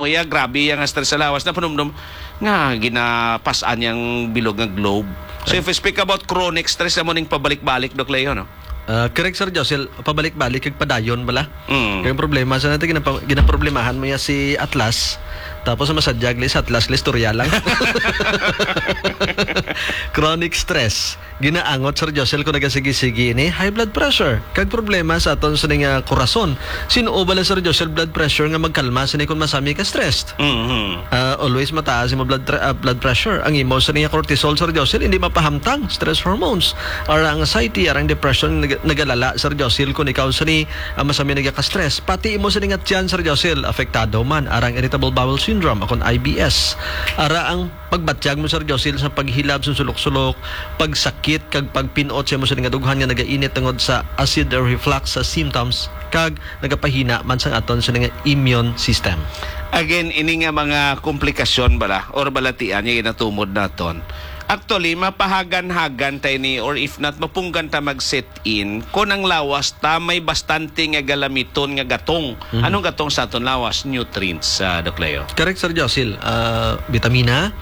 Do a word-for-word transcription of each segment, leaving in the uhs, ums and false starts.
iya, grabe iya nga stress sa lawas, napanumdom nga ginapas-an niyang bilog nga globe. So, if we speak about chronic stress, amo ning pabalik-balik, Doc Leo, no? Ah, correct, Sir Josel. Pabalik-balik kag padayon bala. Mm. Kay ang problema sa natin, ginapa-, ginaproblemahan mo ya si Atlas. Tapos ang masadyag li sa Atlas, li istorya lang. Chronic stress. Ginaangot, Sir Josel, kung nagasigi-sigi ini, high blood pressure. Kag problema sa aton sini nga korason. Sin-o bala, Sir Josel, blood pressure nga magkalma sini kung masami ka stressed? Mhm. Ah, always mataas imo blood tra-, ah, blood pressure. Ang imo sini nga cortisol, Sir Josel, hindi mapahamtang. Stress hormones. Ara ang anxiety, ara ang depression, nag-, nagalala, Sir Josel, kung ikaw sini, ah, masami nagaka-stress. Pati imo sini nga tiyan, Sir Josel, apektado man. Ara ang irritable bowel syndrome, akon I B S. Ara ang pagbatyag mo, Sir Josel, sa paghilab sa sulok-sulok, pagsakit, kag pagpinot sa imo sini nga dughan nga nagainit tungod sa acid reflux sa symptoms, kag nagapahina man sang aton sini nga immune system. Again, ini nga mga komplikasyon bala or balatian nga ginatumod naton. Actually, mapahagan-hagan ta ini, or if not, mapunggan ta mag-sit in kon ang lawas ta may bastante nga galamiton nga gatong. Mhm. Anong gatong sa aton lawas? Nutrients, ah, Doc Leo. Correct, Sir Josil. Ah, bitamina,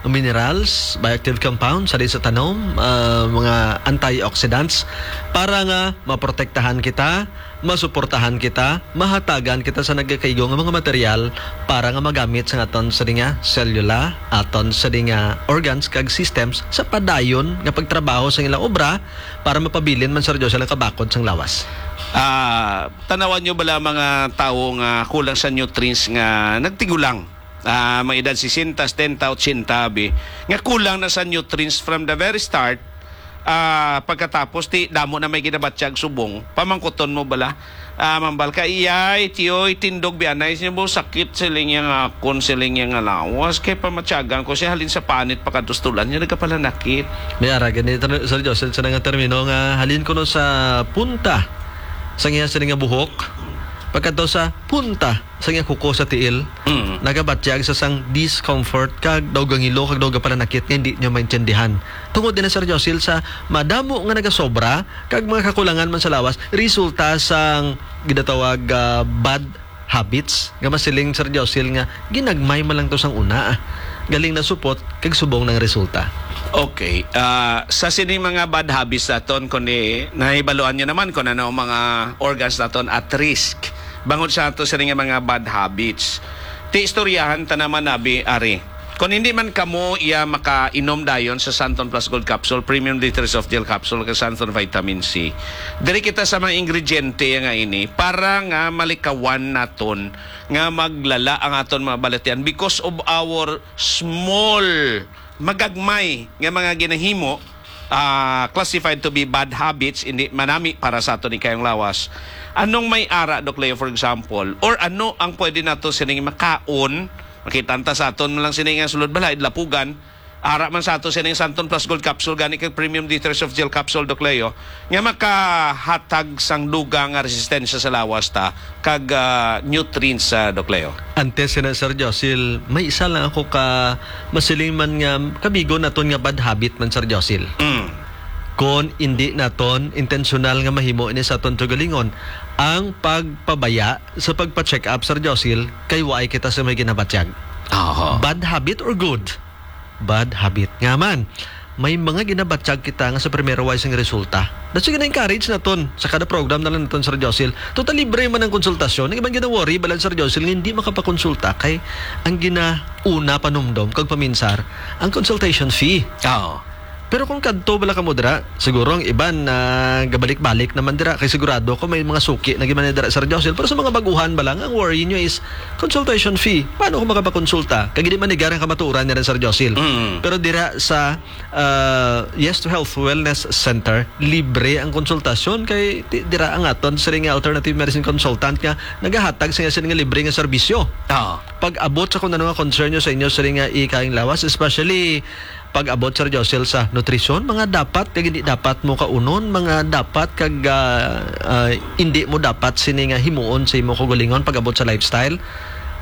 minerals, bioactive compounds, sa sa tanom, ah, mga antioxidants, para nga maprotektahan kita, masuportahan kita, mahatagan kita sa nagakaigo nga mga material para nga magamit sa aton sa nga selula, aton sa nga organs kag systems sa padayon nga pagtrabaho sa ilang obra, para mapabilin man, Sir Josel, ang kabakod sang lawas. Ah, tanawan nyo bala mga tawo nga kulang sa nutrients nga nagtigulang? Ah, mga edad sesenta, setenta, ochenta, abi, nga kulang na sa nutrients from the very start. Ah, pagkatapos, ti, damo na may ginabatyag subong. Pamangkuton mo bala, ah, mambal ka, "Iyay, tiyoy, tindog, bianay, siya mo sakit siling niya nga akon, siling niya nga lawas. Kay pamatyagan ko siya halin sa panit pagkatustulan niya, nagkapalanakit." May ara gani, Sir Josel, sa nga termino nga halin ko no sa punta sa iya sini nga buhok, pagkadto sa punta sa iya kuko sa tiil, Mm. nagabatyag sa sang discomfort kag daw gangilo kag daw gapalanakit nga hindi niya maintindihan. Tungod din, Sir Josil, sa madamo nga nagasobra kag mga kakulangan man sa lawas, resulta sang ginatawag, ah, bad habits nga masiling, Sir Josil, nga ginagmay man lang to sang una, ah. Galing na supot kag subong nang resulta. Okay. Ah, sa sining mga bad habits naton, kundi nahibaluan nyo naman kung ano ang mga organs naton at risk bangod sa ato sini nga mga bad habits. Ti istoryahan ta naman, abi, ari. Kung hindi man kamo iya makainom dayon sa Santon Plus Gold Capsule, Premium D three Soft Gel Capsule, kag Santon Vitamin C, diri kita sa mga ingrediente nga ini para nga malikawan naton nga maglala ang aton mga balatian because of our small, magagmay nga mga ginahimo, ah, classified to be bad habits, hindi manami para sa aton ikayong lawas. Anong may ara, Doc Leo, for example? Or ano ang pwede nato sining makaon? Makita ta sa aton lang sini nga sulod balay, lapugan. Ara man sa ato sining Santon Plus Gold Capsule, gani kag Premium D three Soft Gel Capsule, Doc Leo, nga makahatag sang dugang nga resistensya sa lawas ta kag, ah, nutrients sa, Doc Leo. Antes sina, Sir Josil, may isa lang ako ka masiling man nga kamigo naton nga bad habit man, Sir Josil. Mm. Kon indi naton intensyonal nga mahimo ini sa aton kaugalingon, ang pagpabaya sa pagpa-check up, Sir Josil, kay waay kita sa may ginabatyag. Aha. Bad habit or good? Bad habit. Nga man, may mga ginabatyag kita nga sa primero way sing resulta. That's why gina-encourage naton sa kada program na lang naton, Sir Josil. Total libre man ang konsultasyon. Ang iban gina-worry, balan, Sir Josil, nga hindi makapakonsulta kay ang ginauna panumdom kag paminsar, ang consultation fee. Oo. Pero kung kadto bala kamo dira, siguro ang iban na gabalik-balik naman dira, kay sigurado ko may mga suki na giman dira, Sir Josil. Pero sa mga baguhan bala, ang worry nyo is consultation fee. Paano ko makapakonsulta? Kag di man nigar ang kamatuoran ni Sir Josil. Mm. Pero dira sa, ah, Yes to Health Wellness Center, libre ang konsultasyon kay ti-, dira ang aton sining nga alternative medicine consultant nga nagahatag sa sining nga libre nga serbisyo. Ah. Pag-abot sa kung ano nga concern nyo sa inyo sining nga ikayong lawas, especially pag-abot, Sir Josil, sa nutrisyon, mga dapat kag hindi dapat mo kaunon, mga dapat kag, ah, ah, hindi mo dapat sini nga himuon sa imo kaugalingon pag-abot sa lifestyle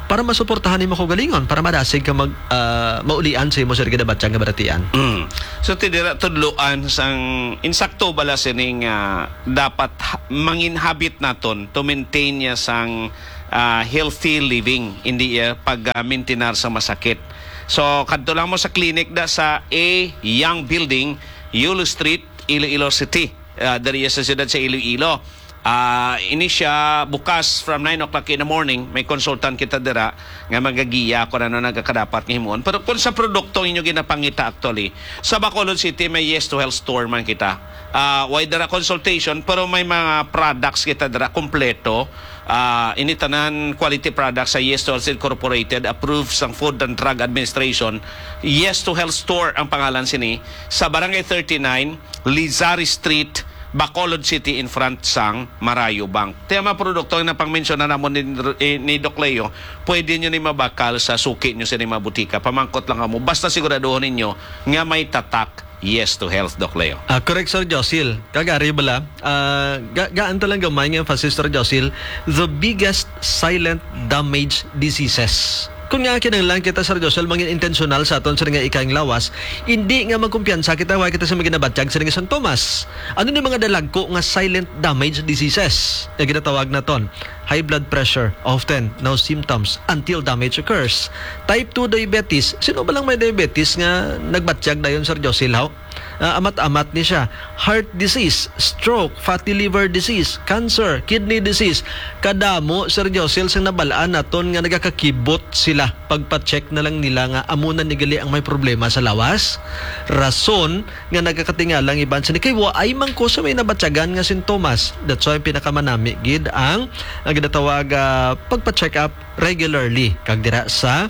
para masuportahan nimo kaugalingon, para madasig ka mag, ah, maulian sa imo, sir, ginabatyang nga balatian. Mm. So, ti dira tudloan sang insakto bala sini nga dapat ha-, mangin habit naton to maintain niya sang ah, healthy living, hindi, ah, pag, ah, mintinar sa masakit. So, kadto lang mo sa clinic da sa A Young Building, Yulo Street, Iloilo City. Ah, diri sa siyudad sa Iloilo. Ah, ini siya bukas from nine o'clock in the morning. May consultant kita dira nga magagiya kung ano nagakadapat nga himuon. Pero kung sa produkto inyo ginapangita, actually, sa Bacolod City, may Yes to Health Store man kita. Ah, way dira consultation, pero may mga products kita dira kompleto. Ah, ini tanan quality products sa Yes to Health Incorporated, approved sang Food and Drug Administration. Yes to Health Store ang pangalan sini. Sa Barangay thirty-nine, Lizari Street, Bacolod City, in front sang Marayo Bank. Kaya mga produkto nga napangmensyonan namon ni, eh, ni Doc Leo, pwede nyo ni mabakal sa suki nyo sa mga butika. Pamangkot lang kamo. Basta siguraduhon ninyo nga may tatak Yes to Health, Doc Leo. Ah, correct, Sir Josil. Kagari bala, ah, ga gaan ta lang gamay nga emphasis, Sir Josil, the biggest silent damage diseases. Kung nga kinahanglan kita, Sir Josil, mangin intentional sa aton sa nga ikang lawas, hindi nga magkumpiyansa kita, wa kita sa maginabatyag sa nga sintomas. Ano ni mga dalagko nga silent damage diseases nga ginatawag naton? High blood pressure, often no symptoms until damage occurs. Type two diabetes, sino ba lang may diabetes nga nagbatyag dayon, Sir Josil, haw? Ah, amat-amat ni siya. Heart disease, stroke, fatty liver disease, cancer, kidney disease. Kadamo, Sir Josil, sang nabalaan naton nga nagakakibot sila. Pagpa-check na lang nila nga amo na ni gali ang may problema sa lawas. Rason nga nagakatingala ang iban sini kay waay man ko sa may nabatyagan nga sintomas. That's why pinakamanami gid ang, ang ginatawag, ah, pagpa-check up regularly. Kag dira sa,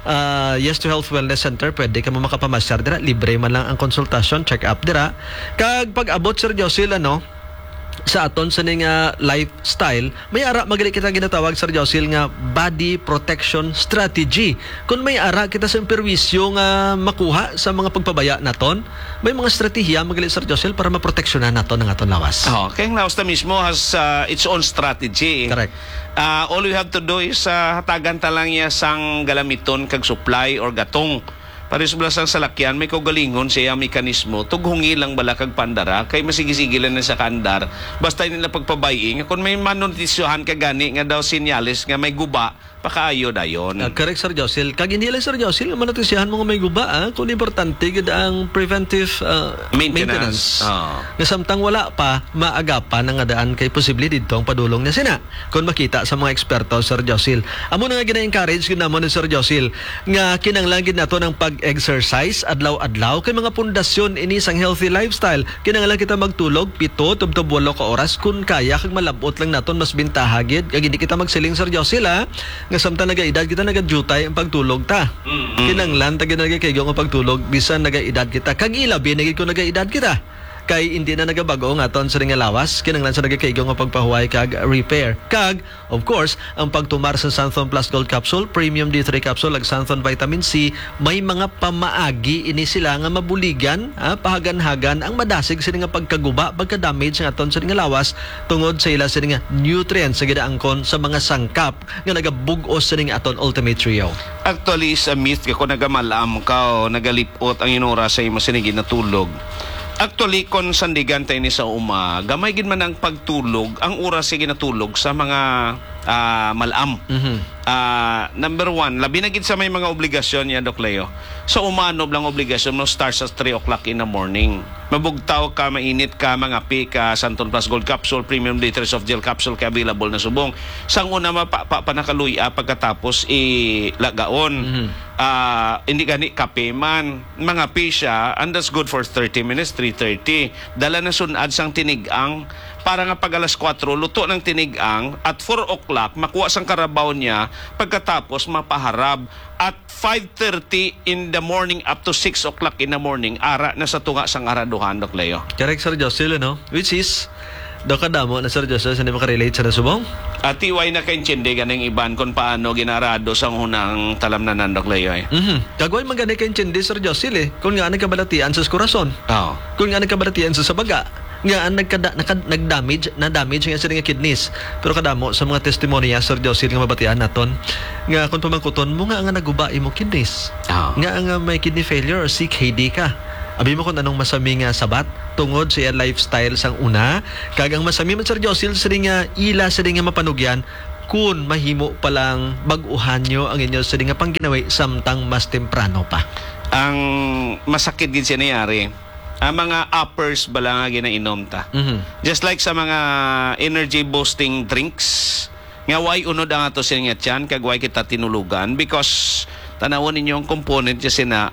ah, Yes to Health Wellness Center, pwede ka mo makapamasyar dira. Libre man lang ang konsultasyon, check up dira. Kag pag-abot, Sir Josil, ano, sa aton sa ning, ah, lifestyle, may ara man gali kita ginatawag, Sir Josil, nga body protection strategy. Kung may ara kita sa perwisyo nga makuha sa mga pagpabaya naton, may mga estratehiya man gali, Sir Josil, para maproteksyonan naton ang aton lawas. Oh, kay ang lawas na mismo has, ah, its own strategy. Correct. Ah, all we have to do is, ah, hatagan ta lang niya sang galamiton kag supply or gatong. Pares bala sang salakyan, may kaugalingon siya ang mekanismo. Tughungi lang bala kag pandara, kay masigi-sige lang na sa kaandar. Basta nila pagpabay-i nga kung may manutisyohan ka gani nga daw senyales nga may guba, pakaayo dayon. Ah, correct, Sir Josil. Kag hindi lang, Sir Josil, nga manutisyahan mo nga may guba, ah, kung importante gid ang preventive, ah, Maintenance. maintenance. Oo. Nga samtang wala pa, maagapan ang nga daan kay posible didto ang padulong na sina. Kung makita sa mga eksperto, Sir Josil. Amo na nga gina-encourage gid namon ni Sir Josil nga kinahanglan gid nato ang pag-exercise adlaw-adlaw kay mga pundasyon ini sang healthy lifestyle. Kinahanglan kita magtulog pito tubtob walo ka oras kun kaya kag malab-ot lang naton mas bintaha gid kag hindi kita magsiling, Sir Josil, ha, nga samtang nagaedad kita nagadutay ang pagtulog ta. Mm-mm. Kinahanglan ta gid nagakaigo nga pagtulog bisan nagaedad kita kag ilabi na gid kung nagaedad kita. Kay hindi na nagabag-o ang aton sa nga lawas, kinahanglan sa nagakaigo nga pagpahuway kag repair. Kag, of course, ang pagtumar sa Santhon Plus Gold Capsule, Premium D three Capsule, ag Santhon Vitamin C, may mga pamaagi ini sila nga mabuligan, ah, pahaganhagan ang madasig sini nga pagkaguba, pagka-damage nga aton sini nga lawas tungod sa ila sini nga nutrients sa ginaangkon sa mga sangkap nga nagabug-os sini nga aton Ultimate Trio. Actually, is a myth nga kung nagamalam ka o nagalip-ot ang inura sa imo sini ginatulog. Actually, kung sandigan ta ini sa uma, gamay gid man ang pagtulog, ang oras sa ginatulog sa mga, ah, malam. Mhm. Ah, number one, labi na gid sa may mga obligasyon niya, Doc Leo. Sa umanob lang obligasyon mo, start sa three o'clock in the morning. Mabugtaw ka, mainit ka, mangapi ka, Santon Plus Gold Capsule, Premium D three Soft Gel Capsule kay available na subong. Sang una, mapa pa, pa nakaluya, pagkatapos ilagaon. Mhm. Ah, hindi gani kape man. Mangapi siya, and that's good for thirty minutes, three thirty. Dala na sunad sang tinigang, para nga pag alas kuwatro, luto ng tinigang, at four o'clock, makuha sang karabaw niya, pagkatapos mapaharab. At five thirty in the morning up to six o'clock in the morning, ara na sa tunga sang araduhan, Doc Leo. Correct, Sir Jocelyn, no? Which is, daw kadamo na, Sir Jocelyn, sa hindi makarelate sa nasubong? Ati, way na kaintindi ganing iban kung paano ginarado sang hunang talamnanan, Doc Leo, eh. Mhm. Kag way man gani kaintindi, Sir Jocelyn, eh, kung nga nagkabalatian sa kurason. Oo. Kung nga nagkabalatian sa, sa baga. Nga ang nagkada-, nakad-, nag-damage, na-damage nga sila nga kidneys. Pero kadamo sa mga testimonya, Sir Josil, nga mabatian naton, nga kung pamangkuton mo nga nga naguba imo kidneys, Ah. nga nga may kidney failure or C K D ka. Abi mo kung anong masami nga sabat tungod sa iya lifestyle sang una. Kag ang masami man, Sir Josil, sila nga ila, sila nga mapanugyan, kun mahimo pa lang bag-uhan nyo ang inyo sini nga pangginawi samtang mas temprano pa? Ang masakit gid siya nangyari, ang mga uppers ba lang nga ginainom ta. Mhm. Just like sa mga energy boosting drinks, nga way unod ang ato sini nga tiyan, kag way kita tinulugan, because tanawon ninyo ang component niya sina,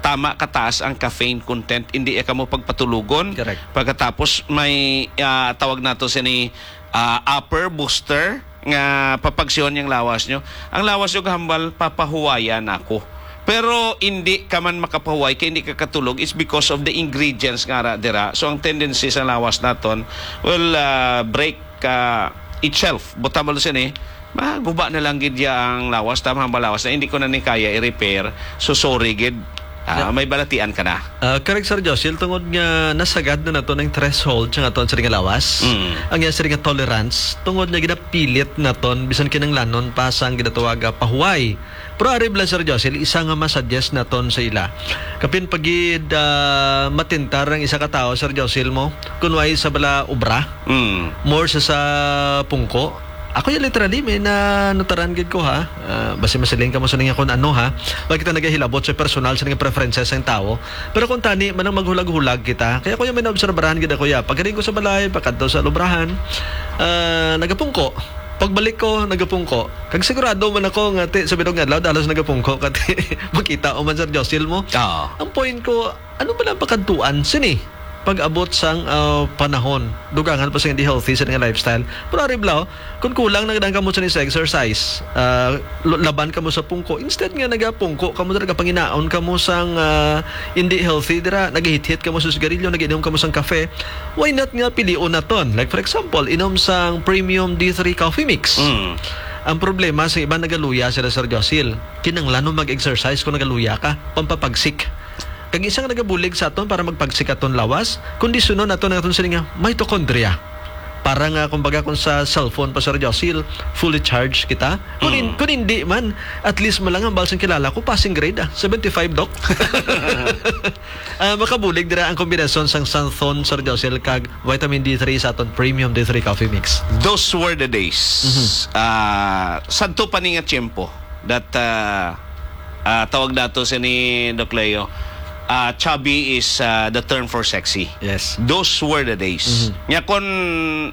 tama kataas ang caffeine content, hindi ya kamo pagpatulugon. Correct. Pagkatapos may, ah, tawag nato sini, ah, upper booster nga papagsihon yang lawas nyo. Ang lawas nyo hambal, papahuwayan ako. Pero hindi ka man makapahuway kay hindi ka katulog, it's because of the ingredients nga ara dira. So ang tendency sa lawas naton will, ah, break, ah, itself. Buta mo sini, maguba na lang gid ya ang lawas, tama ang lawas na hindi ko na ni kaya i-repair. So sorry gid. Ah, may balatian ka na. Ah, correct, Sir Josil, tungod nga nasagad na nato ng threshold sa aton sini nga lawas. Mm. Ang iya sini nga tolerance, tungod nga ginapilit naton bisan kinanglanon pa sang ginatawag, ah, pahuway. Pero ari bala, Sir Josil, isa nga masuggest naton sa ila. Kapin pagid, ah, matintar ang isa ka tawo, Sir Josil, mo, kun way sa bala obra, Mm. more sa, sa pungko. Ako ya literally, may nanutaran gid ko, ha. Ah, basi masiling ka mo sa nga kung ano, ha. Wa kita nagahilabot sa personal sa nga preferences sang tawo. Pero kung tani man ang maghulag-hulag kita, kaya ko ya may naobserbahan gid ako ya. Pagkaring ko sa balay, pakadto sa lubrahan, ah, nagapungko. Pagbalik ko, nagapungko. Kag sigurado man ako nga, ti, sa bidong adlaw, dalos nagapungko, kati, makita o man, Sir Josil, mo. Oo. Ang point ko, ano ba lang pakadtuan sini? Pag-abot sang, ah, panahon, dugangan pa sing hindi healthy sa nga lifestyle. Pero ari bala, kung kulang na gid ang kamo sa ni sa exercise, ah, lo-, laban kamo sa pungko, instead nga nagapungko kamo, nagapanginaon kamo sang, ah, hindi healthy dira, nagahithit kamo sa sigarilyo, nagiinom kamo sang kafe, why not nga pilion naton? Like, for example, inom sang premium D three coffee mix. Mm. Ang problema sa iban, nagaluya sila, Sir Josil. Kinanglan mo mag-exercise kung nagaluya ka, pampapagsik. Kag isa nga nagabulig sa aton para magpagsik aton lawas, kondisyonon naton ang aton sini nga mitochondria. Para nga, kumbaga, kung sa cellphone pa, Sir Josil, fully charged kita. Kung hin-, Mm. kung hindi man, at least man lang ang balsang kilala ko, passing grade, ah, seventy-five, Doc. Ah, makabulig dira ang kombinasyon sang Xanthone, Sir Josil, kag vitamin D three sa aton premium D three coffee mix. Those were the days. Mhm. Ah, sadto pa ni nga tiyempo that, ah, ah, tawag nato sini, Doc Leo, ah, chubby is, ah, the term for sexy. Yes. Those were the days. Mhm. Nya kon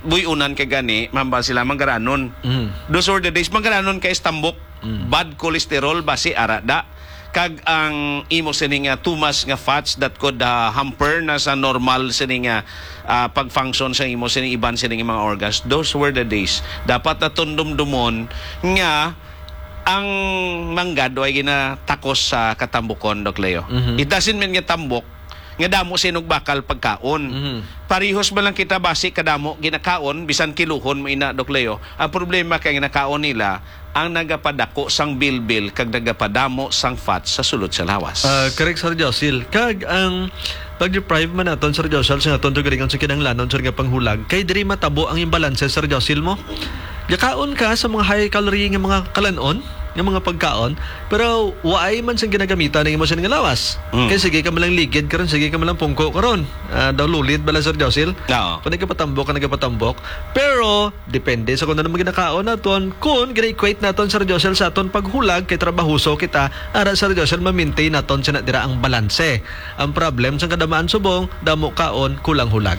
buy-unan ka gani, mambal sila manggaranon. Mhm. Those were the days. Manggaranon kay tambok, Mm. bad cholesterol, basi ara da. Kag ang imo sini nga too much nga fats that could, ah, hamper na sa normal sini nga, ah, pag-function sa imo sini iban sini nga mga organs. Those were the days. Dapat naton dumdumon nga ang manggad way ginatakos sa katambukon, Doc Leo. Mhm. It doesn't mean nga tambok nga damo sinog bakal pagkaon. Mhm. Parehos man lang kita basi kadamo ginakaon, bisan kiluhon mo ina, Doc Leo. Ang problema kay ginakaon nila ang nagapadako sang bilbil kag nagapadamo sang fat sa sulod sa lawas. Ah, correct, Sir Josil. Kag ang pag-deprive man naton, Sir Josil, sa aton tugaringon sa kinahanglanon, sir, nga panghulag, kay diri matabo ang imbalanse, Sir Josil, mo. Gakaon ka sa mga high calorie nga mga kalanon, nga mga pagkaon, pero waay man sing ginagamitan ang imo sini nga lawas. Mm. Kay sige ka malang ligid karon, sige ka malang pungko karon. Ah, daw lulid bala, Sir Josil? Oo. Kung nagapatambok ka, nagapatambok. Pero depende sa kung ano man ginakaon naton, kung gina-equate naton, Sir Josil, sa aton paghulag kay trabahoso kita, ara, Sir Josil, ma-maintain naton sina dira ang balanse. Ang problem sa kadamaan subong, damo kaon, kulang hulag.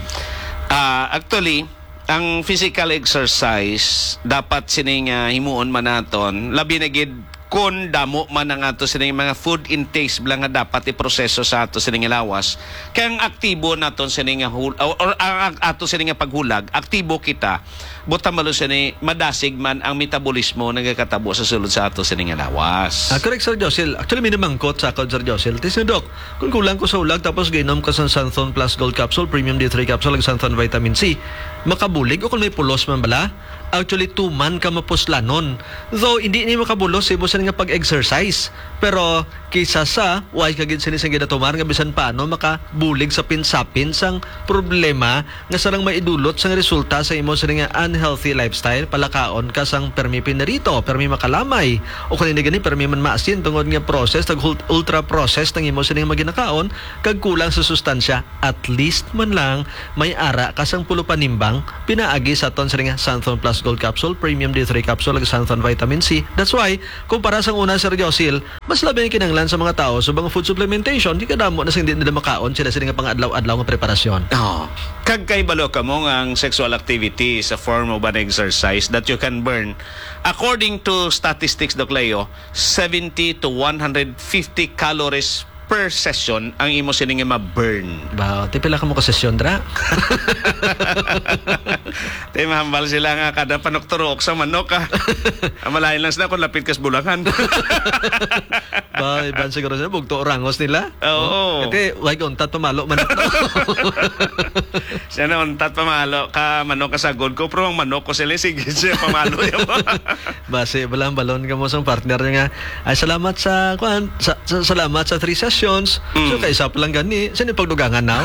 Ah, actually, ang physical exercise dapat sini nga himuon man naton, labi na gid kun damo man ang ato sini mga food intakes bala nga dapat iproseso sa ato sini nga lawas. Kay ang aktibo naton sini nga hul-, or, or ang, ang ato sini nga paghulag, aktibo kita. Buta malo sini, madasig man ang metabolismo nagakatabo sa sulod sa ato sini nga lawas. Ah, correct, Sir Josil. Actually, may namangkot sa akon, Sir Josil. Ti, Sir Doc, kung kulang ko sa hulag tapos giinom ko sang Xanthone Plus Gold Capsule, Premium D three Capsule, ug Xanthone Vitamin C, makabulig o kung may pulos man bala? Actually, tuman ka mapuslanon. Though, hindi ni makabulos sa imo sini nga pag-exercise. Pero, kisa sa, way ka gid sini sang ginatumar nga bisan paano makabulig sa pinsapin sang problema nga sarang maidulot sang resulta sa imo sini nga healthy lifestyle, palakaon ka sang permi pinirito, permi makalamay, o kung hindi gani, permi man maasin tungod nga process, tag hul-, ultra process ang imo sining mga ginakaon, kag kulang sa sustansya, at least man lang may ara ka sang pulo panimbang pinaagi sa aton sining Xanthone Plus Gold Capsule, Premium D three Capsule, ug Xanthone Vitamin C. That's why, kumpara sang una, Sir Josil, mas labi ang kinahanglan sa mga tawo subong food supplementation, kay kadamo na sing di nila makaon sila sini nga pang-adlaw-adlaw nga preparasyon. Oh. Kag kay balo kamo nga ang sexual activity is a form of an exercise that you can burn. According to statistics, Doc Leo, seventy to one hundred fifty calories per session ang imo sini nga ma-burn. Ba, ti pila ka mo ka sesyon, dra? Te, mahambal sila nga kada panukturok sa manok, ah. Ang malain lang sila kung lapit kas bulangan. Ba, iban siguro sila, bugto orangos nila. Oo. Ate, wag untat pamalo manok. Siya na untat pamalo ka manok ka sagod ko, pero ang manok ko sila, sige siya pamalo. Basi, balang balon ka mo sang partner niya nga, "Ay, salamat sa, kuan, sa, sa, salamat sa three sessions." So, Mm. kay isa pa lang gani, sino pagdugangan na?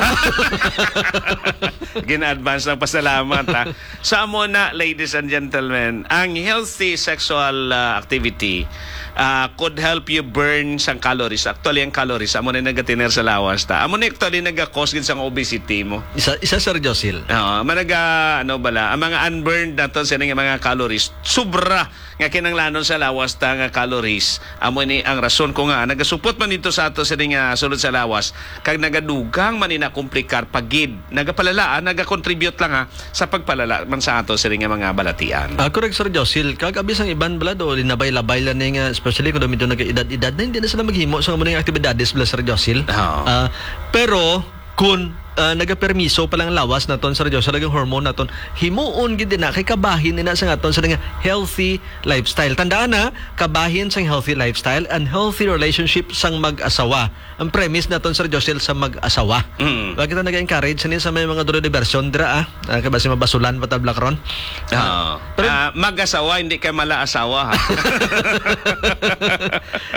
Gina-advance lang pasalamat, ha? Sa amo na, ladies and gentlemen, ang healthy sexual, ah, activity, ah, could help you burn sang calories. Actually, ang calories, amo na nagatiner sa lawas ta. Amo na actually nagakos gid sang obesity mo. Isa, isa, Sir Josil. Oo, managa, ano bala, ang mga unburned nato sa mga calories, sobra nga kinanglanon sa lawas ta nga calories. Amo ni ang rason ko nga nagasupot man dito sa ato sa nga sulod sa lawas, kag nagadugang man ni na komplikar pagid. Nagapalala, ah, nagakontribute lang, ha, sa pagpalala man sa ato sa nga mga balatian. Ah, correct, Sir Josil. Kag abi sang iban bala do, linabay-labay lang ni nga, especially kung medyo nag-edad-edad na, hindi na sila maghimo sa mga aktibidades bala, Sir Josil. Oo. Ah, pero, kung, ah, nagapermiso pa lang lawas naton, Sir Josil, ang hormone naton, himuon gid na kay kabahin ina sa aton sa nga healthy lifestyle. Tandaan na, kabahin sang healthy lifestyle and healthy relationship sang mag-asawa. Ang premise naton, Sir Josil, sa mag-asawa. Mm. Wa kita nag-encourage sa, sa may mga duro diversion dira, ah. Ah, kay basi mabasulan pa ta bala karon. Oo. Pero Ah, mag-asawa, hindi kay mala asawa, ha?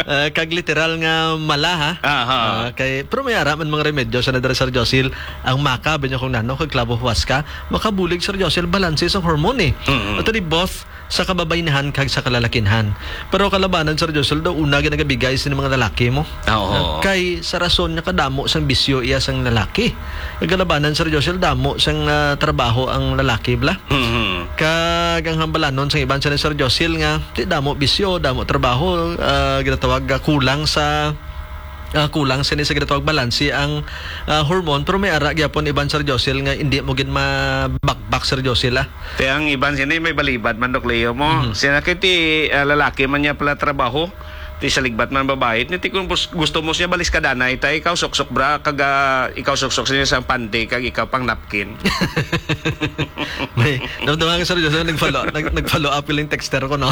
Ah, kag literal nga mala, ha? Aha. Ah, kay, pero may ara man mga remedyo sa nadara, Sir Josil. Ang maka, binyo kung nano, kag klabo huwaska, makabulig, Sir Josil, balanse sa hormone, eh. Mm-mm. Ato di both sa kababaynahan kag sa kalalakinhan. Pero kalabanan, Sir Josil, daw una ginagabigay sa mga lalaki mo. Oo. Ah, kay sa rason nga kadamo sang bisyo iya sang lalaki. Kag kalabanan, Sir Josil, damo sang, ah, trabaho ang lalaki, bala. Mhm. Kag ang hambalanon sang iban sa ni Sir Josil nga, di damo bisyo, damo trabaho, ah, ginatawag, ah, kulang sa, ah, kulang sini sa ginatawag balanse ang, ah, hormone, pero may ara gyapon iban, Sir Josil, nga hindi mo gid mabakbak, Sir Josil, ah. Te, ang iban sini may balibad man, Doc Leo, mo. Mhm. Sina kay ti, ah, lalaki man niya pala trabaho. Ti sa ligbat man babae, ti kung bus-, gusto mo siya balis ka danay, tay, ikaw suksok bra, kag, ah, ikaw suksok siya sa pante, kag ikaw pang napkin. May, no, no, ang seryoso, nag-follow, nag-, nag-follow up yung texter ko, no?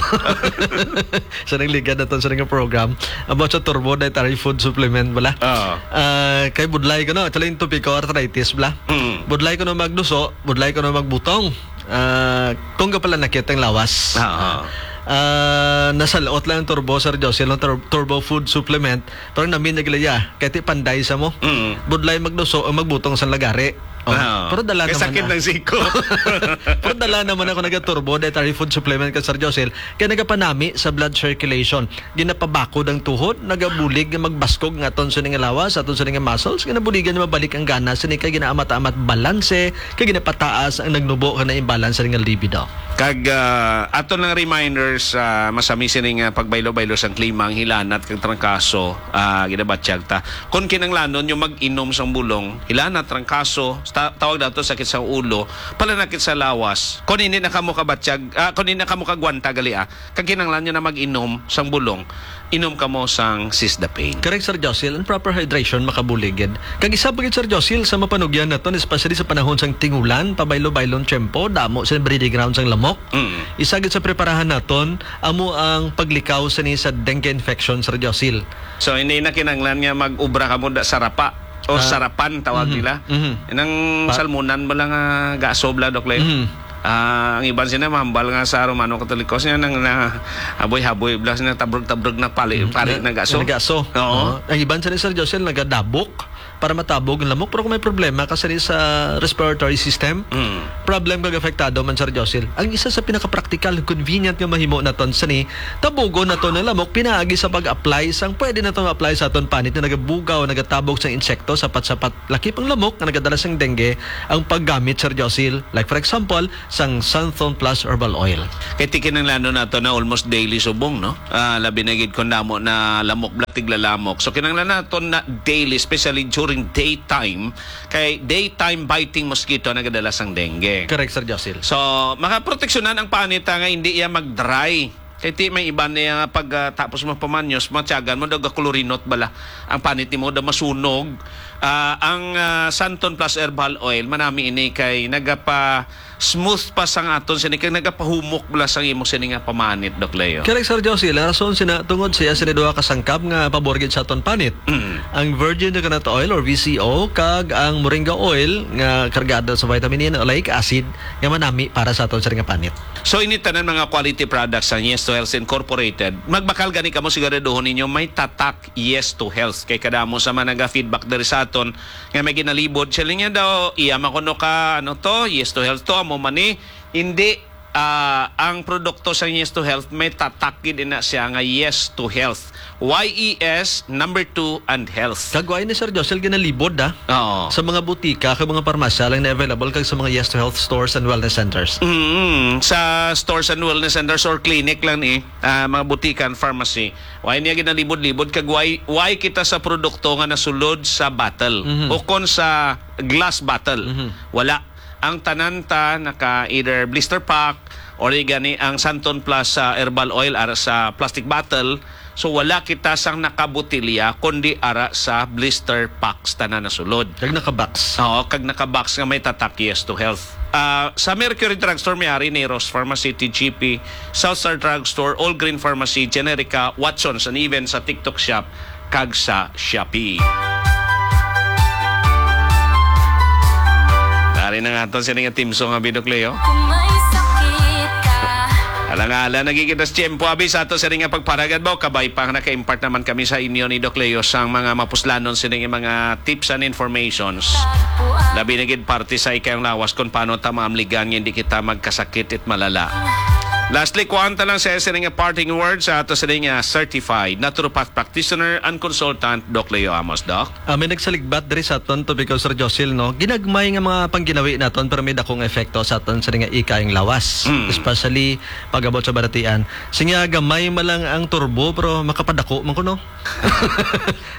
Sa nagligad na to, sa naging program, about sa turbo dietary food supplement, bala. Oo. Ah, kay budlay ko, no? Actually, yung topic ko, arthritis, bala. Mm. Budlay ko na magduso, budlay ko na magbutong. Ah, kung ka pala nakit ang lawas. Oo. Ah, nasalot lang ang turbo, Sir Josie, ang tur-, turbo food supplement. Pero namin naglaya, kaya ti panday sa mo. Mm. Budlay magduso o magbutong sa lagari. Oh, Oo. Pero dala Kay naman sakit na. Ng siko. Pero dala naman ako nag-turbo dietary food supplement ka, Sir Josie. Kaya nagapanami sa blood circulation. Ginapabakod ang tuhod, nagabulig nga magbaskog nga aton sa nga lawas, aton sa nga muscles, ginabuligan nga mabalik ang gana, sini kay ginaamat-amat balanse, kay ginapataas ang nagnubo nga na-imbalance sa nga libido. Kag, ah, aton lang reminders, ah, masami sini nga pagbaylo-baylo sang klima, ang hilanat kag trangkaso, ah, ginabatyag ta. Kung kinanglanon nyo mag-inom sang bulong, hilanat, trangkaso, ta-, tawag dato sakit sa ulo, palanakit sa lawas. Kung hindi na kamo kabatyag, ah, kung hindi na kamo kagwanta gali, ah, kag kinahanglan nyo na mag-inom sang bulong, inom kamo sang Seize the Pain. Correct, Sir Josil. Ang proper hydration makabulig gid. Kag isa pa gid, Sir Josil, sa mapanugyan naton, especially sa panahon sang tingulan, pabaylo-baylon tiyempo, damo sa breeding ground sang lamok. Mm. Isa gid sa preparahan naton, amo ang paglikaw sini sa dengue infection, Sir Josil. So, hindi na kinahanglan nga mag-ubra kamo da sa rapa. O Ah, sarapan tawag mhm, nila. Mhm. Nang Pa- salmonan ba lang, ah, gaso bla, Doc Leo? Mhm. Ah, ang iban sina mahambal nga sa Romano Katoliko, sina nang na haboy-haboy bla, sina tabrog-tabrog na pali, Mhm. pari Na, na gaso. Na gaso. Oo. Oo. Ang iban sina, Sir Josel, nagadabok. para matabog ang lamok, pero kung may problema ka sini sa respiratory system, Mm. problem kag apektado man, Sir Josil. Ang isa sa pinakapraktikal, convenient nga mahimo naton sini, tabugon naton ang lamok pinaagi sa pag-apply sang pwede naton ma-apply sa aton panit nga nagabugaw, nagatabog sang insekto, sapat-sapat lakip ang lamok nga nagadala sang dengue, ang paggamit, Sir Josil. Like, for example, sang Santhon Plus Herbal Oil. Kay ti kinahanglanon nato na almost daily subong, no? Ah, labi na gid kung damo na lamok, bala tiglalamok. So, kinahanglan nato na daily, especially during daytime, kay daytime biting mosquito nagadala sang dengue. Correct, Sir Josil. So, makaproteksyonan ang panit, ah, nga hindi iya mag-dry. Kay ti may iba niya nga pag, ah, tapos mo pamanyos, matyagan mo, daw gakulurinot bala. Ang panit nimo daw masunog. Ah, ang, ah, Santon Plus Herbal Oil, manami ini kay nagapa smooth pa sang aton sini, kag nagapahumok bala sang imo sini nga pamanit, Doc Leo. Correct, Sir Josie. Ang rason sina, tungod siya sini duha ka sangkap nga pabor gid sa aton panit. Mm. Ang virgin coconut oil or V C O, kag ang moringa oil nga kargado sa vitamin E and oleic acid nga manami para sa aton sini nga panit. So, ini tanan mga quality products sang Yes to Health Incorporated. Magbakal gani kamo, siguraduhon ninyo may tatak Yes to Health. Kay kadamo sa mga naga-feedback diri sa aton nga may ginalibod. Siling niya daw, iya man kuno ka, ano to, Yes to Health to, amo man ni. Hindi, ah, ang produkto sa Yes to Health, may tatak gid na siya nga Yes to Health. Y E S, number two, and health. Kag why ni Sir Josel ginalibod, ah? Oo. Sa mga butika, kag mga parmasya lang na available, kag sa mga Yes to Health stores and wellness centers. Mm, sa stores and wellness centers or clinic lang ni, ah, mga butika and pharmacy. Why niya ginalibod-libod? Kag why, why kita sa produkto nga nasulod sa bottle? Mhm. O kon sa glass bottle? Mhm. Wala. Ang tanan ta naka either blister pack or di gani ang Santon Plus, ah, herbal oil ara sa plastic bottle. So, wala kita sang nakabotelya, kundi ara sa blister packs tanan nasulod. Kag naka-box. Oo, kag naka-box nga may tatak Yes to Health. Ah, sa Mercury Drugstore, may ari ni Rose Pharmacy, T G P, South Star Drugstore, All Green Pharmacy, Generica, Watsons, and even sa TikTok Shop kag sa Shopee. Ari na nga aton sini nga theme song, abi, Doc Leo. Kung may sakit ka. Alang-alang, nagiging tas tiyempo, abi, sa ato sini nga pagparagad mo. Kabay pa nga naka-impart naman kami sa inyo ni Doc Leo sang mga mapuslanon sini nga mga tips and informations. Labi na gid parte sa ikayong lawas kung paano ta maamligan nga hindi kita magkasakit it malala. Lastly, kuhaan ta lang sa sini nga parting words sa ato sini nga certified naturopath practitioner and consultant, Doc Leo Amos. Doc? Ah, may nagsaligbat diri sa aton topic, Sir Josil, no? Ginagmay nga mga pangginawi naton, pero may dakong epekto sa aton sini nga ikayong lawas. Mm. Especially pag-abot sa balatian. Sinya, gamay man lang ang turbo, pero makapadako man kuno.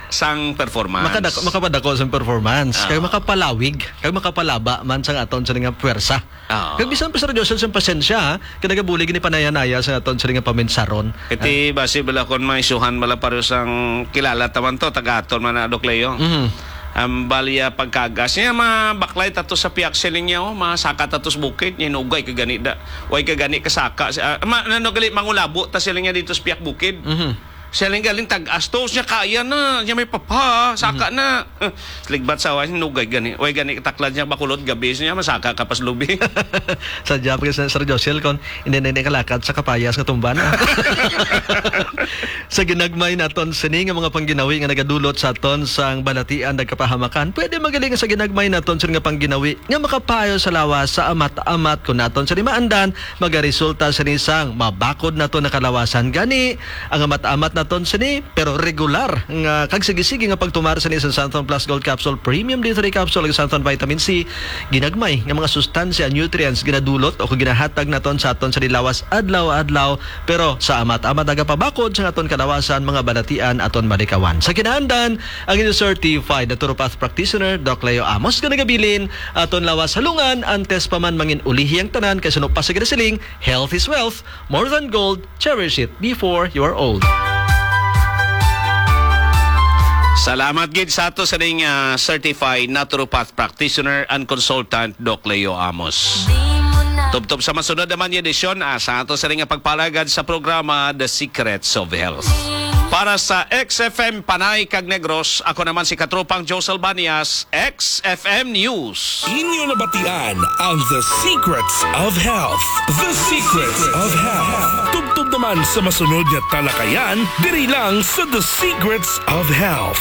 Sang performance. Makadako, makapadako sang performance. Ah. Kag makapalawig, kag makapalaba man sang aton sini nga puwersa. Oo. Kag bisan pa, Sir Josel, sang pasensya, ha? Kay nagabulig ni panaya-naya sa aton sini nga paminsaron. Iti basi bala kon may suhan bala pareho sang kilala ta man to, taga-aton man na, Doc Leo. Mhm. Ang balya pagkagas niya, mabaklay tato sa piyak siling niya, oh, masaka tato sa bukid, niya hinugay ka gani da. Way ka gani kasaka. Ah, ma-, ano gali, mangulabo ta siling niya dito sa piyak bukid. Mhm. Siya lang galing tag-astos niya, kaya na, niya may papa, saka Mhm. na. Ligbat sa awa, nugay gani. Way gani, taklad niya, bakulod, gabi niya, masaka ka pas lubi. Sa job ka sa Sir Josel, kon hindi na, hindi kalakat sa kapayas nga tumban, ah. Sa ginagmay naton, sini nga mga pangginawi nga nagadulot sa aton sang balatian, nagkapahamakan, pwede magaling sa ginagmay naton, sini nga pangginawi nga makapayo sa lawas, sa amat-amat, kung naton sini maandan, magaresulta sini sang mabakod naton nga kalawasan. Gani, ang amat-amat naton sini, pero regular nga kag sige-sige nga pagtumar sini sa Santon Plus Gold Capsule, Premium D three Capsule, ug Santon Vitamin C, ginagmay nga mga sustansya, nutrients, ginadulot o kung ginahatag naton sa aton sa lawas adlaw-adlaw, pero sa amat-amat nagapabakod sa aton kalawasan, mga balatian aton malikawan. Sa kinaandan, ang inyo certified naturopath practitioner, Doc Leo Amos, nga nagabilin, aton lawas halungan, antes pa man mangin ulihi ang tanan, kay suno pa sa ginasiling, health is wealth, more than gold, cherish it before you are old. Salamat gid sa ato sa ning, ah, certified naturopath practitioner and consultant, Doc Leo Amos. Tubtob sa masunod naman nga edisyon, ah, sa ato sa ning pagpalagad sa programa The Secrets of Health. Para sa X F M Panay kag Negros, ako naman si Katropang Josel Banias, X F M News. Inyo nabatian ang The Secrets of Health. The Secrets of Health. Tubtob naman sa masunod nga talakayan, diri lang sa The Secrets of Health.